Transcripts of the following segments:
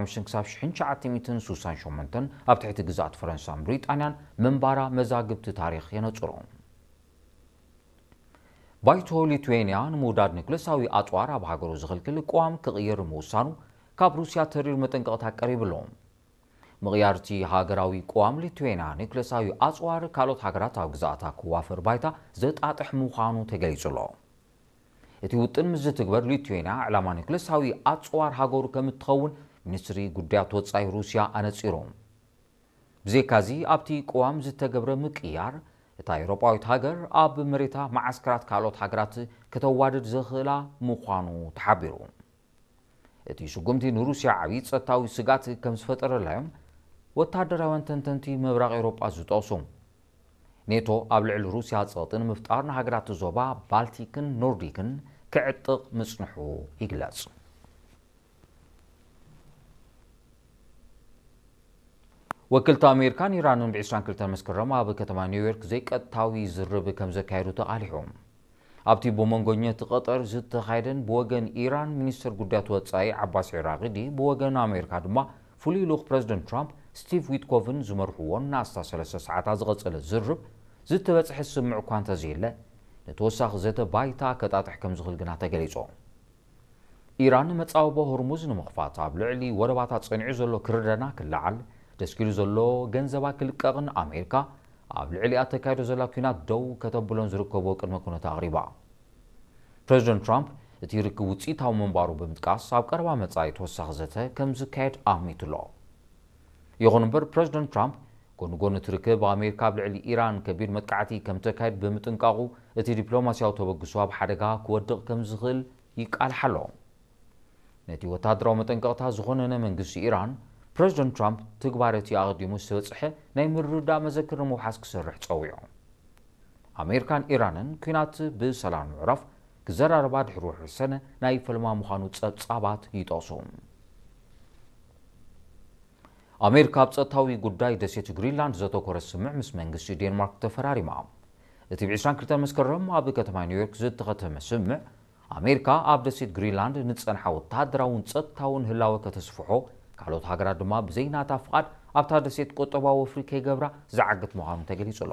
ሓምሽተ ክሳብ ሽሕን ትሽዓተ ሚእትን ስሳን ሸሞንተን ኣብ ትሕቲ ግዛኣት ፈረንሳን ብሪጣንያን ምንባራ መዛግብቲ ታሪኽ የነጽሩ። ባይቶ ሊትዌንያ ንምውዳድ ኒኩለሳዊ ኣጽዋር ኣብ ሃገሩ ዝኽልክል ቅዋም ክቕይር ምውሳኑ ካብ ሩስያ ተሪር መጠንቀቕታ ቀሪብሉ። ምቕያርቲ ሃገራዊ ቅዋም ሊትዌንያ ኒኩለሳዊ ኣጽዋር ካልኦት ሃገራት ኣብ ግዛኣታ ክዋፈር ባይታ ዘጣጥሕ ምዃኑ ተገሊጹ ኣሎ። እቲ ውጥን ምስ ዝትግበር ሊትዌንያ ዕላማ ኒኩለሳዊ ኣጽዋር ሃገሩ ከም እትኸውን ሚኒስትሪ ጉዳያት ወጻኢ ሩስያ ኣነጺሩ። ብዘይካዚ ኣብቲ ቅዋም ዝተገብረ ምቅያር እታ ኤውሮጳዊት ሃገር ኣብ መሬታ መዓስከራት ካልኦት ሃገራት ከተዋድድ ዘኽእላ ምዃኑ ተሓቢሩ። እቲ ስጉምቲ ንሩስያ ዓብዪ ጸጥታዊ ስጋት ከም ዝፈጠረላ እዮም ወታደራውያን ተንተንቲ ምብራቕ ኤውሮጳ ዝጠቕሱ። ኔቶ ኣብ ልዕሊ ሩስያ ጸቕጢ ንምፍጣር ንሃገራት ዞባ ባልቲክን ኖርዲክን ክዕጥቕ ምጽንሑ ይግለጽ። ወክልቲ ኣሜሪካን ኢራንን ብ ዕስራን ክልተን መስከረም ኣብ ከተማ ኒውዮርክ ዘይቀጥታዊ ዝርብ ከም ዘካየዱ ተቓሊሑ። ኣብቲ ብመንጎኘቲ ቀጠር ዝተኻየደን ብወገን ኢራን ሚኒስትር ጉዳያት ወጻኢ ዓባስ ዒራቂዲ ብወገን ኣሜሪካ ድማ ፍሉይ ልኡኽ ፕረዚደንት ትራምፕ ስቲቭ ዊትኮቭን ዝመርሕዎን ንኣስታት ሰለስተ ሰዓታት ዝቐጸለ ዝርብ ዝተበጽሐ ስምምዕ እኳ እንተዘየለ ንተወሳኺ ዘተ ባይታ ከጣጥሕ ከም ዝኽእል ግና ተገሊጹ። ኢራን መጻወቦ ሆርሙዝ ንምኽፋት ኣብ ልዕሊ ወደባታ ጸኒዑ ዘሎ ክርደና ክለዓል፣ ደስኪሉ ዘሎ ገንዘባ ክልቀቕን ኣሜሪካ ኣብ ልዕሊኣ ተካይዶ ዘላ ኲናት ደው ከተብሎን ዝርከቦ ቅድመ ኩነት ኣቕሪባ። ፕረዚደንት ትራምፕ እቲ ርክብ ውጽኢታዊ ምንባሩ ብምጥቃስ ኣብ ቀረባ መጻኢ ተወሳኺ ዘተ ከም ዝካየድ ኣሚቱ ኣሎ። ይኹን እምበር ፕረዚደንት ትራምፕ ጎኒ ጎኒ እቲ ርክብ ኣሜሪካ ኣብ ልዕሊ ኢራን ከቢድ መጥቃዕቲ ከም ተካይድ ብምጥንቃቑ እቲ ዲፕሎማስያዊ ተበግሶ ኣብ ሓደጋ ክወድቕ ከም ዝኽእል ይቃልሓ ኣሎ። ነቲ ወታደራዊ መጠንቀቕታ ዝኾነነ መንግስቲ ኢራን ፕረዚደንት ትራምፕ ትግባረ እቲ ኣቐዲሙ ዝተበጽሐ ናይ ምርድዳእ መዘክር ንምውሓስ ክሰርሕ ጸዊዑ። ኣሜሪካን ኢራንን ኲናት ብሰላም ንምዕራፍ ክዘራረባ ድሕሪ ውሕድ ሰነ ናይ ፈልማ ምዃኑ ጸብጻባት ይጠቕሱ። ኣሜሪካ ኣብ ጸጥታዊ ጉዳይ ደሴት ግሪንላንድ ዘተኮረ ስምምዕ ምስ መንግስቲ ዴንማርክ ተፈራሪማ። እቲ ብ ዕስራን ክልተን መስከረም ኣብ ከተማ ኒውዮርክ ዝተኸተመ ስምምዕ ኣሜሪካ ኣብ ደሴት ግሪንላንድ ንጸንሓ ወታደራውን ጸጥታውን ህላወ ከተስፍሖ፣ ካልኦት ሃገራት ድማ ብዘይናታ ፍቓድ ኣብታ ደሴት ቁጠባዊ ወፍሪ ከይገብራ ዝዓግት ምዃኑ ተገሊጹ ኣሎ።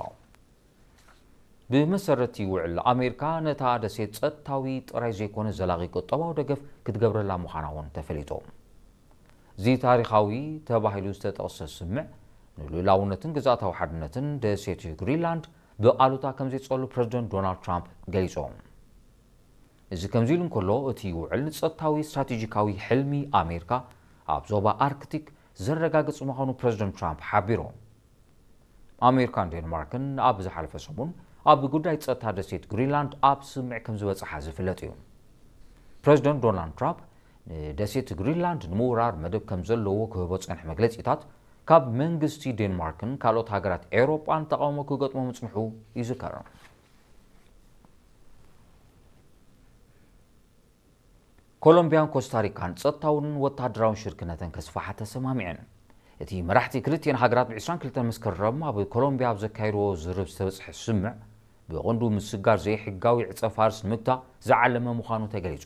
ብመሰረት እቲ ውዕል ኣሜሪካ ነታ ደሴት ጸጥታዊ ጥራይ ዘይኮነ ዘላቒ ቁጠባዊ ደገፍ ክትገብረላ ምዃና እውን ተፈሊጡ። እዚ ታሪኻዊ ተባሂሉ ዝተጠቕሰ ስምምዕ ንልኡላውነትን ግዝኣታዊ ሓድነትን ደሴት ግሪንላንድ ብኣሉታ ከም ዘይጸሉ ፕረዚደንት ዶናልድ ትራምፕ ገሊጹ። እዚ ከምዚ ኢሉ እንከሎ እቲ ውዕል ንጸጥታዊ ስትራቴጂካዊ ሕልሚ ኣሜሪካ ኣብ ዞባ ኣርክቲክ ዘረጋግጽ ምዃኑ ፕረዚደንት ትራምፕ ሓቢሩ። ኣሜሪካን ዴንማርክን ኣብ ዝሓለፈ ሰሙን ኣብ ጉዳይ ጸጥታ ደሴት ግሪንላንድ ኣብ ስምምዕ ከም ዝበጽሓ ዝፍለጥ እዩ። ፕረዚደንት ዶናልድ ትራምፕ ንደሴት ግሪንላንድ ንምውራር መደብ ከም ዘለዎ ክህቦ ዝጸንሐ መግለጺታት ካብ መንግስቲ ዴንማርክን ካልኦት ሃገራት ኤውሮጳን ተቓውሞ ክገጥሞ ምጽንሑ ይዝከር። ኮሎምቢያን ኮስታሪካን ጸጥታውን ወታደራውን ሽርክነተን ከስፋሓ ተሰማሚዐን። እቲ መራሕቲ ክልቲኤን ሃገራት ብ ዕስራን ክልተን መስከረም ኣብ ኮሎምቢያ ኣብ ዘካየድዎ ዝርብ ዝተበጽሐ ስምምዕ ብቐንዱ ምስጋር ዘይሕጋዊ ዕጸ ፋርስ ንምግታእ ዝዓለመ ምዃኑ ተገሊጹ።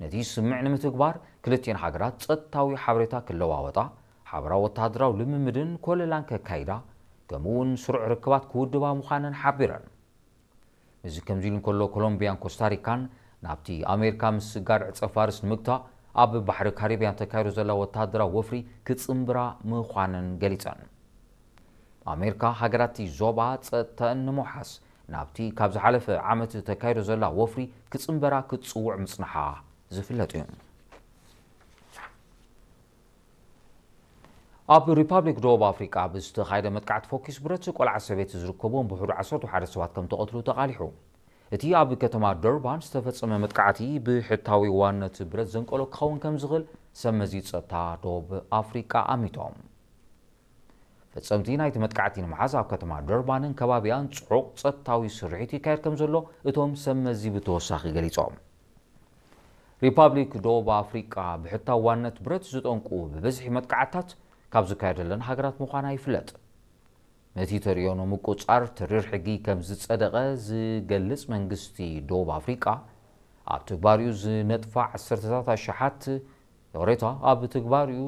ነቲ ስምምዕ ንምትግባር ክልቲኤን ሃገራት ጸጥታዊ ሓበሬታ ክለዋወጣ፣ ሓበራዊ ወታደራዊ ልምምድን ኮለላን ከካይዳ፣ ከምኡ እውን ስሩዕ ርክባት ክውድባ ምዃነን ሓቢረን። እዚ ከምዚ ኢሉ እንከሎ ኮሎምቢያን ኮስታሪካን ናብቲ ኣሜሪካ ምስጋር ዕጸ ፋርስ ንምግታእ ኣብ ባሕሪ ካሪብያን ተካይዶ ዘላ ወታደራዊ ወፍሪ ክጽንብራ ምዃነን ገሊጸን። ኣሜሪካ ሃገራት እቲ ዞባ ጸጥተን ንምውሓስ ናብቲ ካብ ዝሓለፈ ዓመት ተካይዶ ዘላ ወፍሪ ክጽንበራ ክትጽውዕ ምጽንሓ ዝፍለጥ እዩ። ኣብ ሪፓብሊክ ደቡብ ኣፍሪቃ ብዝተኻየደ መጥቃዕቲ ፎኪስ ብረት ቆልዓ ሰበይቲ ዝርከቦም ብሕዱ ዓሰርተ ሓደ ሰባት ከም ተቐትሉ ተቓሊሑ። እቲ ኣብ ከተማ ደርባን ዝተፈጸመ መጥቃዕቲ ብሕታዊ ዋነት ብረት ዘንቀሎ ክኸውን ከም ዝኽእል ሰብ መዚ ጸጥታ ደቡብ ኣፍሪቃ ኣሚቶም። ፈጸምቲ ናይቲ መጥቃዕቲ ንምሓዝ ኣብ ከተማ ደርባንን ከባቢኣን ጽዑቕ ጸጥታዊ ስርሒት ይካየድ ከም ዘሎ እቶም ሰብ መዚ ብተወሳኺ ገሊጾም። ሪፓብሊክ ደቡብ ኣፍሪቃ ብሕታዊ ዋነት ብረት ዝጠንቁ ብብዝሒ መጥቃዕታት ካብ ዝካየደለን ሃገራት ምዃና ይፍለጥ። ነቲ ተርእዮ ንምቁጻር ተሪር ሕጊ ከም ዝጸደቐ ዝገልጽ መንግስቲ ደቡብ ኣፍሪቃ፣ ኣብ ትግባሪኡ ዝነጥፋ ዓሰርተታት ኣሽሓት ይቕሬታ ኣብ ትግባር እዩ